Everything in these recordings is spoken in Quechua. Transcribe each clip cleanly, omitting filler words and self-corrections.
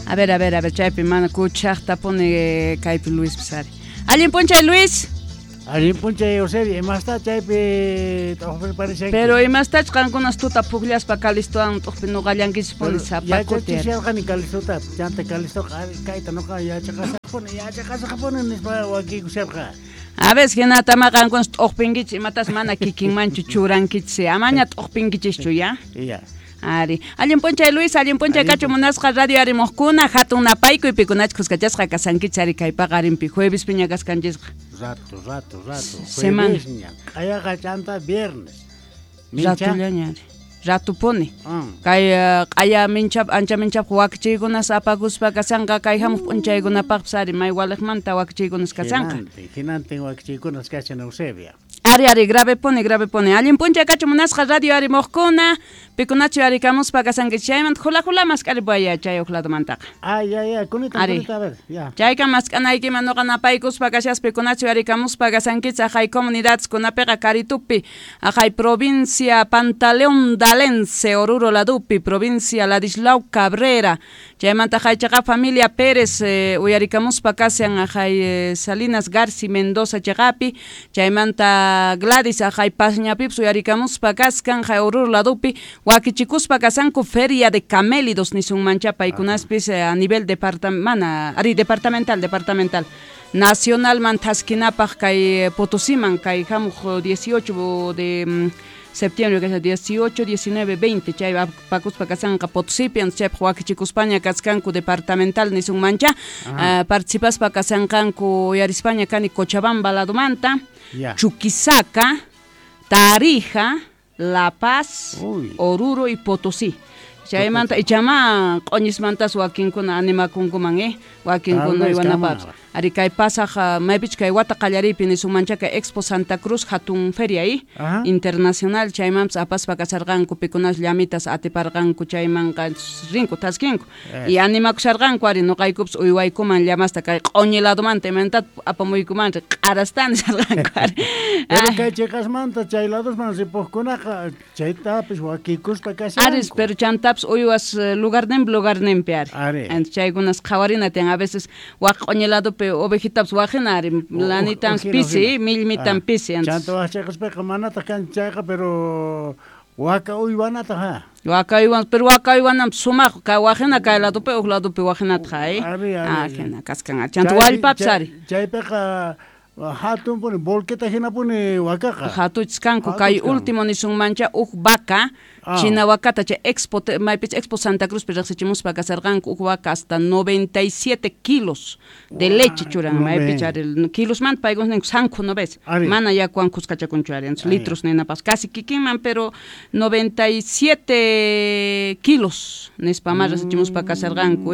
A ver, a ver, a ver, chaypi mana kuchaqtapuni kaypi Luis ari. Allin p'unchay Luis. Allin p'unchay Eusebio, imasta chaypi t'uqpirparishanki? Pero imastach qankunas tuta pukllaspa Calistowan t'uqpi nuqallankichispuni sapa kuti. Yachachisharqani Calistota, chanta Calistoqa kayta nuqa yachaqasaqpuni, yachaqasaqpuni nispa wakiykusharqa. A veces hinatama qankunas t'uqpinkichis imatas mana kikinmanchu churankichis, amaña t'uqpinkichischu ya. Ya. Ari, allin p'unchay Luis, allin p'unchay kachu munasqa radio arimuqkuna, hatun napaykuy pikunach kuskachasqa kasankichis ari kay paqarinpi jueves piña kaskanchisqa. Rato, rato, rato. Semana. Juevesña, q'ayaqa chanta viernes. Mincha. Ratullaña ari. Ratupuni. Kay q'aya minchap ancha minchap wakichiykunas apakuspa kasanqa kay hamuq p'unchaykunapaqpas ari may waliqmanta wakichiykunas kasanqa. Hinantin, hinantin wakichiykunas kashan Eusebia. Ari, ari, grave puni, grave puni. Allin p'unchay kachu munasqa radio arimuqkuna, pikunachu arikamuspa kasankichis chaymanta jula jula mask'aripaya chay huk ladomantaqa. Ay, ay, ay, kunita, Ari. kunita, a ver, ya. Chayka mask'anaykiman nuqa napaykuspa kashaspa pikunachu arikamuspa kasankichis aqhay comunidadeskunapiqa Karitupi, aqhay provincia Pantaleón Dalense, Oruro ladupi, provincia Ladislao Cabrera. Chaymanta aqhay chaqa familia Pérez, uyarikamuspa kashan aqhay Salinas Garci Mendoza chaqapi, chaymanta Gladys aqhay Pasñapipas uyarikamuspa kaskan aqhay Oruro ladupi, wakichikuspa kasanku Feria de Camélidos nisunmancha paykunaspis a nivel mana, ari departamental, departamental. Nacionalman thaskinapaq kay Potosiman kay hamuq 18 de septiembre, que es 18, 19, 20, chay pakuspa kasanqa Potosipi, antes chaypaq wakichikuspaña kaskanku departamental nisunmancha, participaspa kasanqanku uyarispaña kani Cochabamba ladomanta, Chuquisaca, Tarija, La Paz, Uy. Oruro y Potosí. Chaymanta ichama q'uñismantas wakinkuna animakunkuman, wakinkuna Tal vez uywanapaqpas. kama. Ari kay pasaq maypich kay wata qallariypi nisunmancha kay Expo Santa Cruz hatun feria, internacional chaymanpas apaspa kasarqanku pikunas llamitas atiparqanku chaymanqa rinku taskinku. Y animakusharqanku ari nuqaykupas uywaykuman llamasta kay q'uñi ladomanta imantat apamuykuman q'arastan nisharqanku ari. Pero kay chiqasmanta chay ladosman ripuqkunaqa chaytapis wakikuspa kashanku. Aris, pero chantapas uywas lugarninpi lugarninpi ari. Ari. Entonces chaykunas qhawarina tiyan a veces waq q'uñi ladopi ovejitapas waqina ari, lanitan pisi, millmitan pisi, entonces. Chanta waq chiqaspiqa manataq kan chayqa, pero waka uywanataq, ha. Waka uywan, pero waka uywananpas sumaq, ka waqina kay ladopi, huk ladopi waqinataq, Ari, ari, Ah, ari. hina kaskan, ari. Chanta wallpapas ari. Chaypiqa hatun puni, volqueta hina puni wakaqa. Hatuchis kanku, kay Hatuchis kanku. último nisunmancha huk vaca, china wakata chay Expo, maypich Expo Santa Cruz pi riqsichimuspa kasarqanku huk vaca hasta 97 kilos de leche churan, No maypich ve. ari, kilosmanta paykuna ninku sanku no ves. Ari. Mana yakuwan kuskachakunchu ari, entonces Ari. litros ninapas, casi kikinman, pero 97 kilos nispa ma riqsichimuspa kasarqanku,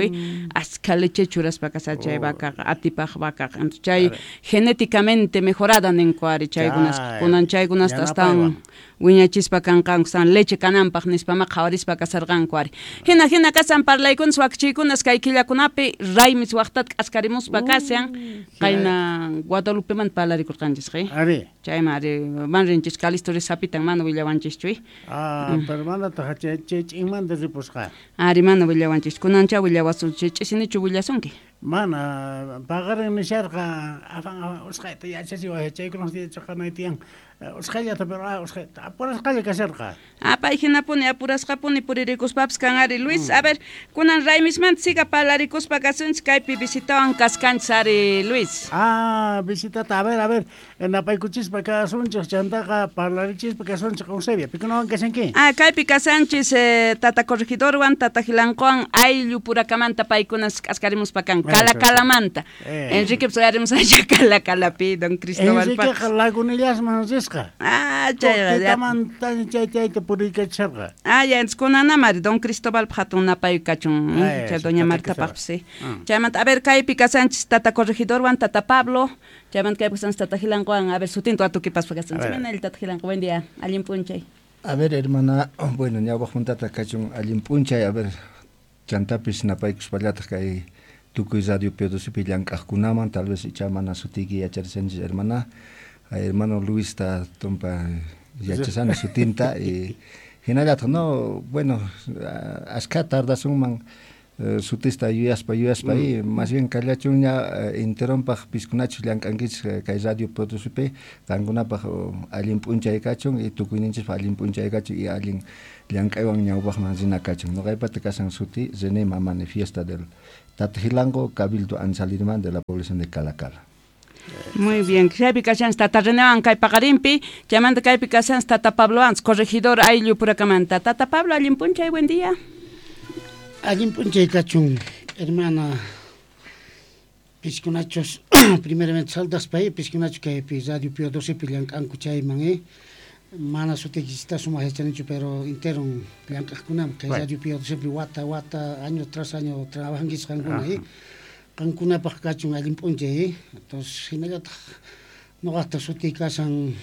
Askha leche churaspa kasar chay vacaqa, atipaq vacaqa. Entonces chay Ari. genéticamente mejorada ninku ari chaykunas, Chay, kunan chaykunasta astawan yanapaywan. wiñachispa kanqanku, san leche kananpaq nispa ma qhawarispa kasarqanku ari. Hina, hina kasan parlaykunas wakichiykunas kay killakunapi raymis waqtata k'askarimuspa kashan, qayna Guadalupemanta parlarikurqanchisqa, Ari. Chayman ari, man rinchis Calisto risapitan mana willawanchischu, Ah, pero manataq chay ch'inmanta ripusqa. Ari, mana willawanchis. Kunancha willawasun, chay ch'isinichu willasunki? Mana, paqarin nisharqa, afan, afan, usqhayta yachachiway, chaykunas yachaqanay tiyan. Usqhayllata, pero, usqhayta, apurasqalla kasharqa. Ah, pay hinapuni, apurasqapuni puririkuspapis kan ari. Luis, a ver, kunan raymismanta siga parlarikuspa kasunchis, kaypi visitawan kaskanchis ari, Luis. Ah, visitata, a ver, a ver, napaykuchispa kasunchis, chantaqa parlarichispa kasunchis, Eusebia, pikunawan kashanki? Ah, kaypi kasanchis, tata corregidorwan, tata Gilanqowan, ayllu purakamanta paykunas k'askarimuspa kan, Calacalamanta. Enrique, pues, uyarimus allá Calacalapi, don Cristóbal Enriqueqa Paz. Lagunillasman risqa. Ah, chay, ya. Tutamanta chay chayta puriykachisharqa. Ah, ya, entonces kunanamari, don Cristóbal hatun napay kachun, Ay, chay sí, doña tata Marta Cristóbal. Paz, sí. Chaymanta, a ver, kaypi kasanchis tata corregidorwan, tata Pablo, chaymanta kaypi kasanchis tata Gilanqowan, a ver, sutinta watukipas kasanchis. A ver. Mira el tata Gilanqo, buen día, allin p'unchay. A ver, hermana, bueno, ñawpaq juntata kachun allin p'unchay, a ver, chantapis napaykuspallataq kay tukuy radio P12 llank'aqkunaman, tal vez icha mana sutiyki yacharishanchis, hermana. Ay, hermano Luis ta tumpa yachasani sutinta, y hinallataq, no, bueno, askha tardasunman Sutista yuyaspa y más bien kallachunña enteronpaq piskunachus llank'ankichis kay radio Potosípi qankunapaq allin p'unchay kachun y tukuyninchispaq allin p'unchay kachun y allin llank'aywan ñawpaqman rina kachun. Noqaypata kasan suti René Mamani, fiesta del Tatajilango, Cabildo Anzalirman de la población de Calacala. Muy bien, chaypi kashanchis Tata Renewan kay paqarinpi, chaymanta kaypi kashanchis Tata Pablo Antz, corregidor ayllu purakamanta. Tata Pablo, allin p'unchay, buen día. Allin p'unchay kachun, hermana, piskunachos, primeramente saldaspa, piskunachos kaypi Radio Pío XII llank'anku chayman, mana sutiykista sumaq yachanichu, pero interon llank'aqkunam kay Radio Pío XII wata wata, año tras año trabajankichis qankuna, qankunapaq kachun allin p'unchay, entonces hinallataq noqaqta sutiy kasan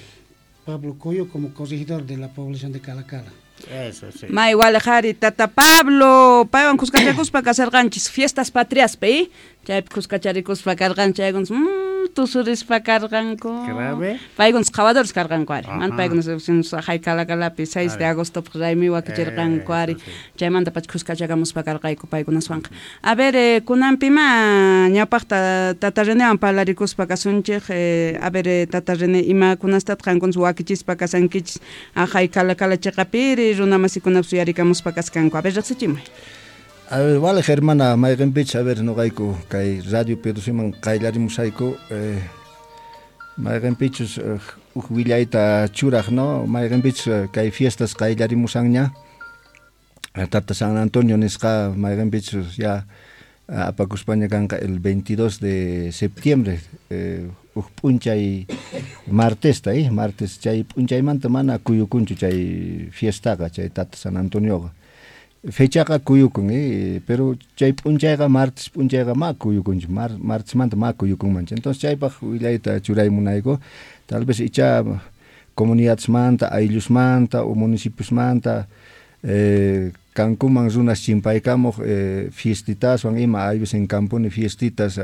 Pablo Coyo como corregidor de la población de Calacala. Eso, sí. May walejari Tata Pablo, paywan kuskachakuspa kasarqanchis fiestas patriaspi, chaypi kuskacharikuspa karqanchis, chaykunas tusurispa karqanku. Paykunas qhawadores karqanku ari. Mana paykunas haqay Calacalapi 6 de agostopaq raymi wakichirqanku ari. Chaymanta pacha kuskachakamuspa karqayku paykunaswanqa. A ver, kunanpima ñawpaqta Tata Renewan parlarikuspa kasunchik, a ver, Tata René, imakunastataq qankunas wakichispa kasankichis haqay Calacala chiqapiri runa masikunap suyarikamuspa kaskanku. A ver, riqsichimuy. A ver, vale, hermana, mayqinpich, a ver, noqayku kay Radio Potosíman qayllarimusayku, mayqinpichus uj willayta churaq, no? Mayqinpichus kay fiestas qayllarimusanña, Tata San Antonio nisqa mayqinpichus ya apakuspaña kanqa el 22 de septiembre, uj p'unchay martesta, martes chay p'unchaymanta mana kuyukunchu chay fiestaqa, chay Tata San Antonioqa. Fechaqa kuyukun, pero chay p'unchayqa martes p'unchayqa ma kuyukunchu, martesmanta ma kuyukunmanchu. Entonces chaypaq willayta churaymunayku, tal vez icha comunidadesmanta, ayllusmanta o municipiosmanta kankuman runas chimpaykamuq fiestitaswan ima, hay veces en campuni fiestitas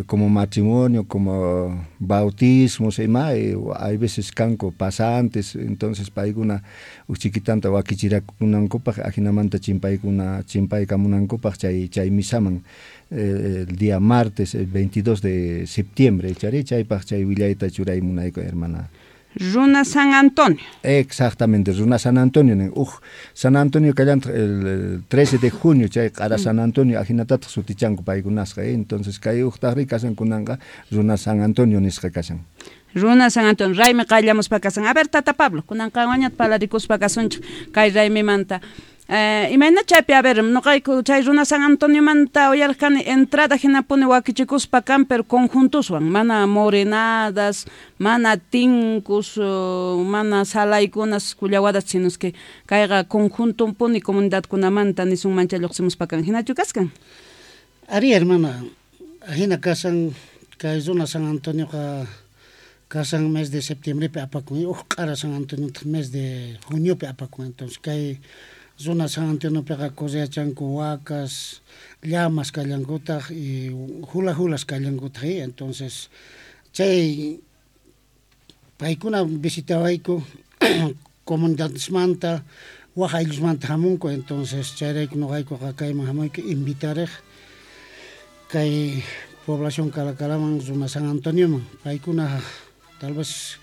como matrimonio, como bautismos ima, hay veces kanku pasantes, entonces paykuna uj chiquitanta wakichirakunankupaq ajinamanta chimpaykuna chimpaykamunankupaq chay chay misaman el día martes el 22 de septiembre, chari chaypaq chay willayta churaymunayku, hermana. Runa San Antonio. Exactamente, Runa San Antonio. Uj, San Antonio kallantaq el 13 de junio, chay q'ara San Antonio, ajinatataq sutichanku paykunasqa, entonces kay ujtaqri kasan kunanqa Runa San Antonio nisqa kasan. Runa San Antonio, raymi qayllamuspa kasan. A ver, Tata Pablo, kunanqa wañat parlarikuspa kasunchik kay raymimanta. Imayna chaypi, a ver, noqayku chay Runa San Antoniomanta uyarqani entrada hinapuni wakichikuspa kan, pero conjuntuswan, mana morenadas, mana tinkus, mana salaykunas kullawadas, sino que kayqa conjuntumpuni comunidadkunamanta nisunman chay lluqsimuspa kan. Hinachu kaskan? Ari, hermana, hina kasan kay Runa San Antonioqa kasan mes de septiembrepi apakun, uj q'ara San Antonio mes de juniopi apakun. Entonces kay Runa San Antoniopiqa correachanku wakas, llamas kallankutaq y hula hulas kallankutaq, entonces chay paykuna visitawayku comunidadesmanta, waj ayllusmanta hamunku, entonces chayrayku noqaykuqa kayman hamuyku invitareq kay población Calacalaman Runa San Antonioman. Paykuna tal vez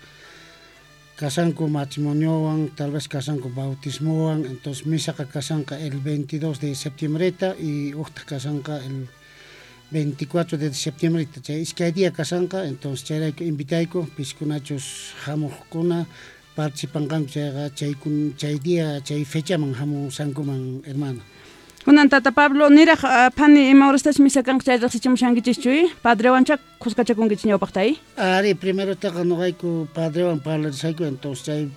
kasanku matrimoniowan, tal vez kasanku bautismowan, entonces misaqa kasanqa el 22 de septiembreta y uqtaq kasanqa el 24 de septiembreta, chay iskay día kasanqa, entonces chayrayku invitayku piskunachus hamuqkuna participanqanku chayqa chay día, chay fechaman hamusankuman, hermana. Kunan Tata Pablo, niraq phani ima horastach misa kanqa chay riqsichimushankichischu, padrewancha kuskachakunkichis ñawpaqta, Ari, primerotaqa noqayku padrewan parlarisayku, entonces chay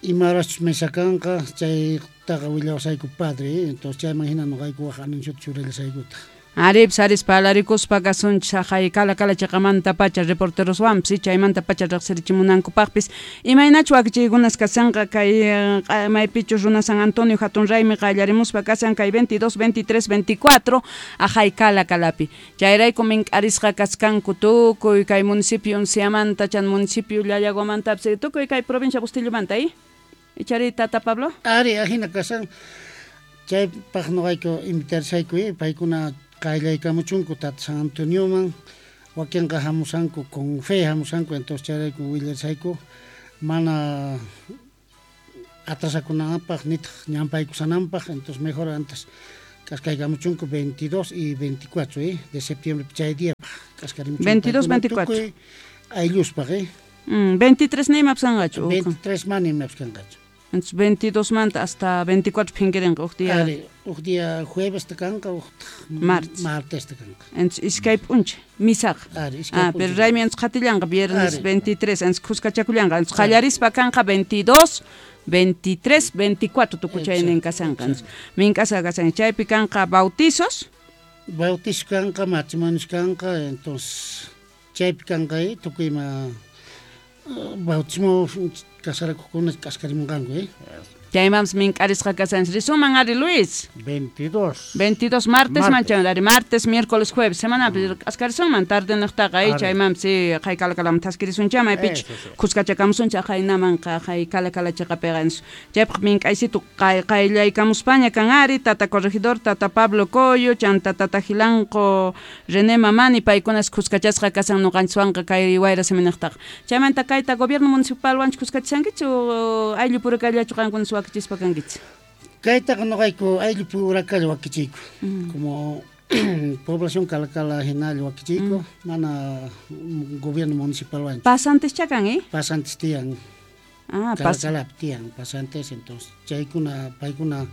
ima horachus misa kanqa chaytaqa willawasayku padre, entonces chayman hina noqayku waj anunciota churallashaykutaq. Aripis aris parlarikuspa kasunchis haqay Calacala chiqamanta pacha reporteroswanpis, chaymanta pacha riqsirichimunankupaqpis. Imaynachu wakichiykunas kasanqa kay maypichus Runa San Antonio hatun raymi qallarimuspa kasan kay 22, 23, 24 haqay Calacalapi. Chayrayku mink'arisqa kaskanku tukuy kay municipio Unciamanta, chan municipio Llallaguamantapis, tukuy kay provincia Bustillomanta, Ichari, Tata Pablo? Ari, ajina kasan. Chaypaq noqayku invitarishayku paykuna qayllaykamuchunku tata San Antonioman, wakinqa hamusanku con fe hamusanku, entonces chayrayku willarishayku mana atrasakunanpaq nitaq ñampaykusananpaq, entonces mejor antes k'askaykamuchunku 22 y 24 de septiembre chay día k'askarimuchunku. 22, 24. Aylluspaq 23 nima psanqachu. 23 mana ima psanqachu. Entonces 22 manta hasta 24 phinkirinqa uj día. Ari, uj día jueves ta kanqa, uj martes. Martes ta kanqa. Entonces iskay p'unchay misaqa. Ari, iskay p'unchay. Pero raymi entonces qhatillanqa viernes 23, entonces khuskachakullanqa. Entonces qallarispa kanqa 22, 23, 24 tukuchaynin kasanqa. Mink'asqa kasan chaypi kanqa bautizos. Bautizos kanqa, matrimonios kanqa, entonces chaypi kanqa tukuy ima bautismo casarakuqkuna k'askarimunqanku. Chaymanpas mink'arisqa kasanchis. Risuman ari Luis. 22. 22 martes manchan ari martes, miércoles, jueves semanapi k'askarisunman tarde niqtaqa chaymanpas qhay kalakalaman thaskirisuncha maypichu khuskachakamusuncha qaynamanqa qhay kalakala chiqapiqa. Chaypaq mink'aysitu qayllaykamuspaña kan ari tata corregidor, tata Pablo Coyo, chanta tata Gilanqo, René Mamani, paykunas khuskachasqa kasan ñuqanchiswanqa kay wayra siminiqtaqa. Chaymanta kayta gobierno municipalwanchu khuskachankichu ayllu purakallachu qankuna wakichispa kankichis? Kaytaqa noqayku ayllu purakalla wakichiyku. Como población Calacala hinalla wakichiyku, mana gobierno municipalwanchu. Pasantes chakan, Pasantes tiyan. Calacalapi tiyan, pasantes, entonces chaykuna paykuna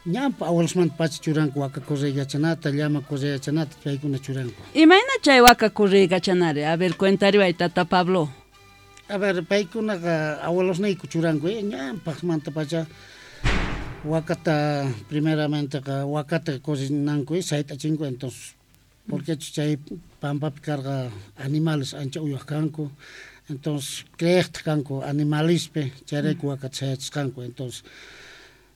ñampa abuelosmanta pacha churanku waka correykachanata, llama correykachanata, paykuna churanku. Imayna chay waka correykachanari? A ver, cuentariway tata Pablo. A ver, paykunaqa abuelosniyku churanku, ñampaqmanta pacha wakata primeramenteqa wakata cocinanku, sayt'achinku, entonces porque chay pampapi karqa animales ancha uywaq kanku, entonces creeqtaq kanku animalispi, chayrayku wakata sayachisqanku, entonces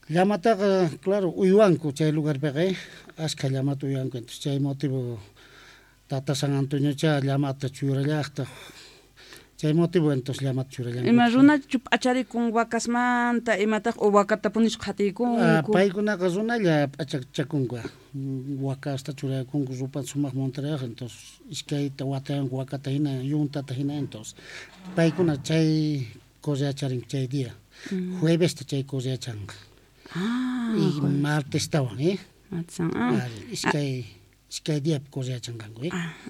llamataqa claro uywanku chay lugarpiqa, askha llamata uywanku, entonces chay motivo tata San Antoniocha llamata churallaqtaq. Chay motivo entonces llamata churallanku. Ima runachu p'acharikun wakasmanta imataq o wakatapunisqa qhatiykunku? Paykunaqa runalla p'achachakunku. Wakasta churakunku rupa sumaq montarayaq, entonces iskayta watayanku wakata hina, yuntata hina, entonces paykuna chay correacharinku chay día. Juevesta chay correachanqa. Y martestawan, iskay diapi correachanqanku,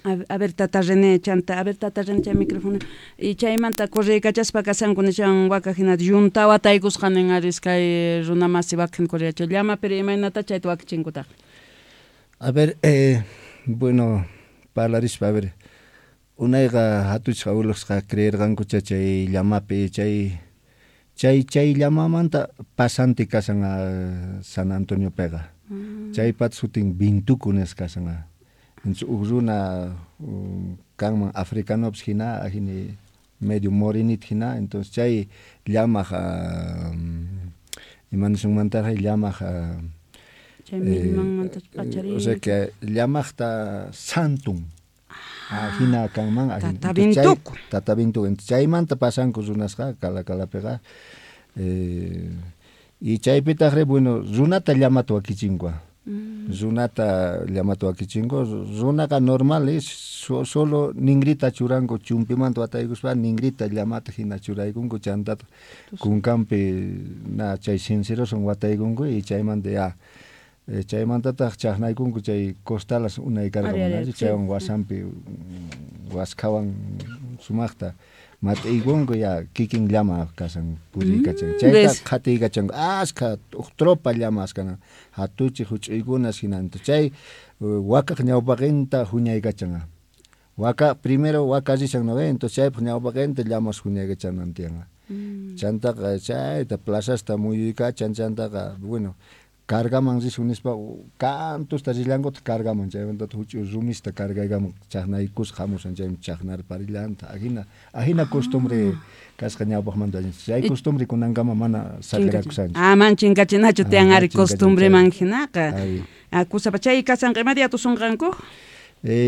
A ver tata René chanta, a ver tata René chay micrófono. Y chaymanta correykachaspa kasanku nishan waka hina yunta wataykusqa nin ari iskay runa masi waka hina correacha llama, pero imaynata chayta wakichinkutaq? A ver, bueno, parlarispa, a ver, unayqa hatuchqa abuelosqa creerqanku chay llamapi, chay llamamanta pasante kasan a San Antoniopiqa. Chaypat sutin Bintuku nisqa kasan. Entonces uj runa kanman africanopis hina, ajini medio morenito hina, entonces chay llamaq ima nisunmantarqa llamaq chay millmanmanta p'achariy. O sea que llamaqta santun hina kanman. Tata Bintuku. Tata Bintuku. Entonces chaymanta pasanku runasqa Calacalapiqa. Y chaypitaqri, bueno, runata llamata wakichinku. Runata llamata wakichinku. Runaqa normal, solo ningrita churanku, chumpimanta wataykuspa ningrita llamata hina churaykunku, chantata kunkanpi na chay sinceroson wataykunku y chaymanta ya chaymantataq chaqnaykunku chay costalas unay karqa, chaywan wasanpi waskhawan sumaqta mat'iykunku ya kikin llama kasan puriykachan. Chayta qhatiykachanku askha uj tropa llamas kanan, hatuchi huch'uykunas hina. Chay wakaq ñawpaqinta huñaykachan. Waka primero waka rishan, ¿no? Entonces chaypaq ñawpaqinta llamas huñaykachanan tiyan. Chantaqa chayta plazasta muyuykachan, chantaqa bueno cargaman risun nispa cantusta rillankutaq cargaman, chaymanta huch'uy rumista cargaykaman chaqnaykusqa hamusan, chaymi chaqnarparillanta. Ajina costumbre kasqa ñawpaqmanta, chay costumbre kunankama mana saqirakusanchu. Man chinkachinachu tiyan ari costumbreman hinaqa. Kusapa chay kasanqa ima día tusunqanku?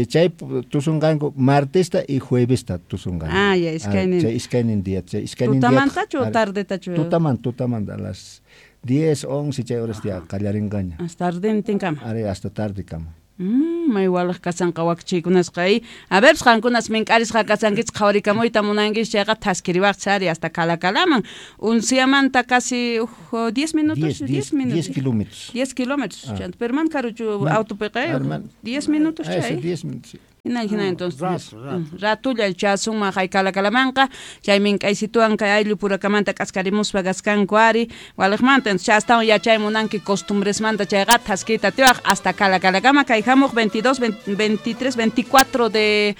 Chay tusunqanku martesta y juevesta tusunqanku. Ya iskaynin. Chay iskaynin día, chay iskaynin día. Tutamantachu o tardetachu? Tutamanta a las 10, 11 chay horas ya qallarinqaña. Hasta tardentinkama. Ari, hasta tarde kama. May walaq kasanqa wakichiykunasqa y a ver qankunas mink'arisqa kasankichik qhawarikamuyta munankichik chayqa thaskiriwaqchik ari hasta Calacalaman unsiyamanta casi 10 minutos 10 minutos 10 kilómetros 10 kilómetros chanta pero man karuchu autopiqa 10 minutos chay 10 minutos. Hina entonces ratulla chasunman hay Calacalamanqa chay mink'aysituwan kay ayllu purakamanta k'askarimuspa kaskanku ari waliqmanta entonces chastawan yachay munanki costumbresmanta chayqa thaskiyta atiwaq hasta Calacalakama kay hamuq 22, 23, 24 de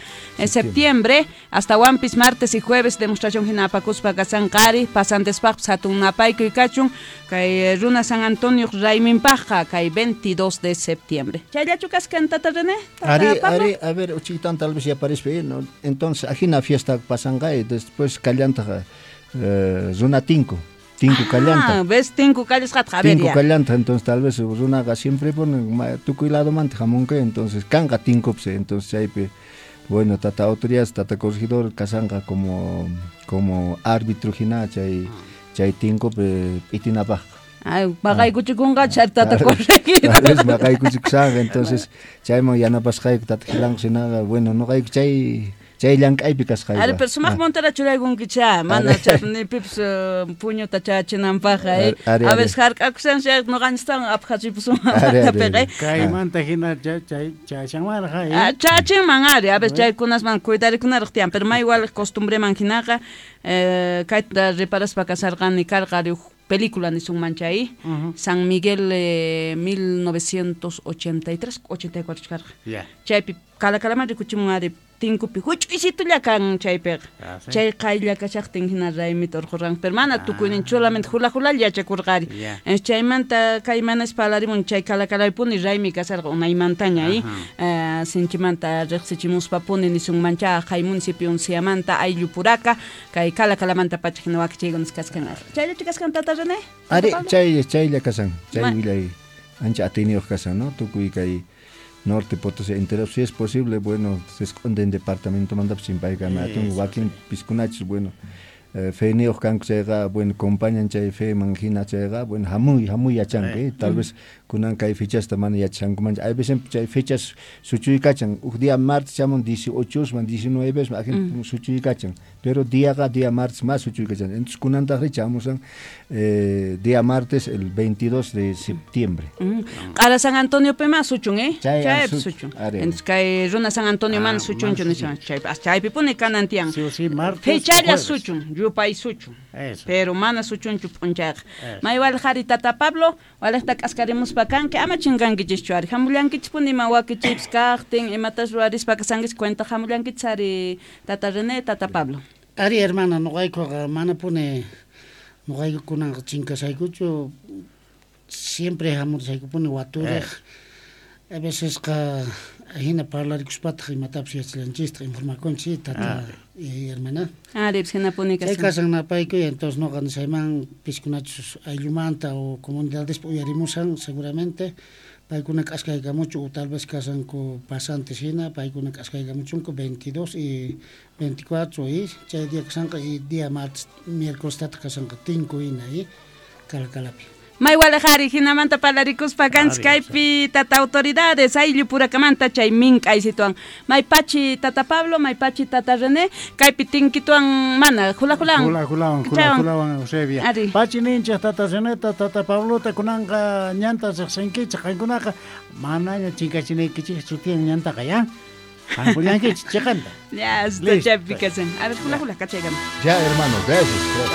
septiembre hasta wampis martes y jueves demostración hina apakuspa kasanqa ari pasantespaqpis hatun napaykuy kachun kay runa San Antonio rayminpaqqa kay 22 de septiembre. Chayllachu kaskan tata René? Ari, ari, a ver, uchitan tal vez ya aparece, ¿no? Entonces, ajina fiesta pasanga y después callanta runa tinku callanta. ¿Ves? Tinku callasqata, a ver. Tinku callanta, entonces tal vez runaqa siempre pone tukuy ladomanta hamunqa, entonces kanqa tinku, entonces chaypi bueno, tata autoridades, tata corregidor kasanqa como árbitro hina chay chay tinku p'itinapaq. Ay, maqaykuchikunqa chay tata corregidor. Tal vez maqaykuchikusaq, entonces chayman yanapasqayku tata Gilanqa hinaqa, bueno, noqayku chay llank'aypi kasqayku. Ari, pero sumaq montera churaykunkichá, mana chay nipipis puñuta chachinanpaq, a veces hark'akushan chay noqanchiktawan aphachipusunman matapiqa. Kaymanta hina chay chachanmanraq. Chachinman ari, a veces chaykunasman cuidarikunaraq tiyan, pero may igual costumbreman hinaqa, kayta reparaspa kasarqani karqa ari película nisunman chay, San Miguel 1983, 84 karqa. Chaypi Calacalaman rikuchimun ari tinkupi huch'uysitulla kan chaypiqa. Chay qaylla kashaqtin hina raymita urqurqan, pero mana tukuynin solamente hula hulalla yachakurqari. Chaymanta kaymanas parlarimun chay Calacalapuni raymi kasarqa unaymantaña sinchimanta riqsichimuspapuni nisunman cha hay municipio unsiyamanta ayllu puraka kay Calacalamanta pacha hina wakichiykunas kaskan. Chayllachu kaskan tata René? Ari, chaylla kasan, chay willay ancha atiyniyuq kasan, ¿no? Tukuy kay Norte Potosí entero, si es posible, bueno, se esconde en departamento manda sin paigana, wakin piskunachis, bueno, feyniyuq kanku chayqa, bueno, compañan chay fe manjina chayqa, bueno, hamuy yachanku, tal vez kunan kay fechasta mana yachankumanchu, hay veces chay fechas suchuykachan, uj día martes chamun 18 man 19 man ajin suchuykachan, pero diaqa día martes más suchuykachan, entonces kunantaqri chamusan día martes el 22 de septiembre. Q'ara San Antonio pe más suchun, chay suchun. Entonces kay runa San Antonio man suchunchu nishan, chay chaypipuni kanan tiyan. Sí, martes. Fechalla suchun, yupay suchun. Pero mana suchunchu p'unchayqa. Maywal qhari tata Pablo, walaqta k'askarimuspa kanki, ama chinkankichischu ari, hamullankichispuni ima wakichipis kaqtin, imatas ruwarispa kasankichis cuenta hamullankichis ari tata René, tata Pablo. Ari hermana, noqaykuqa manapuni noqayku kunanqa chinkasaykuchu, siempre hamursaykupuni waturiq. A veces qa hina parlarikuspataq imatapis yachallanchistaq informakunchik tata y hermana. Ari, hinapuni kasan. Chay kasan napaykuy, entonces noqa nisayman piskunachus ayllumanta o comunidadespa uyarimusan seguramente paykuna k'askaykamuchu o tal vez kasanku pasantes hina paykuna k'askaykamuchunku 22 y 24 y chay día kasanqa y día martes miércoles tata kasanqa tinku hina y Calacalapi. Maywalaqari hinamanta parlarikuspa kanchik kaypi tata autoridades ayllu purakamanta chay mink'aysituwan maypachi tata Pablo, maypachi tata René kaypi tinkituwan mana hula hulawan hula hulawan Eusebia pachi ninchik tata Reneta tata Pablota kunanqa ñanta riqsinkichik qankunaqa manaña chinkachinaykichikchu tiyan ñantaqa ya qankullankichik chiqanta ya hasta chaypi kasan. A ver hula hula kachaykama ya hermano, gracias.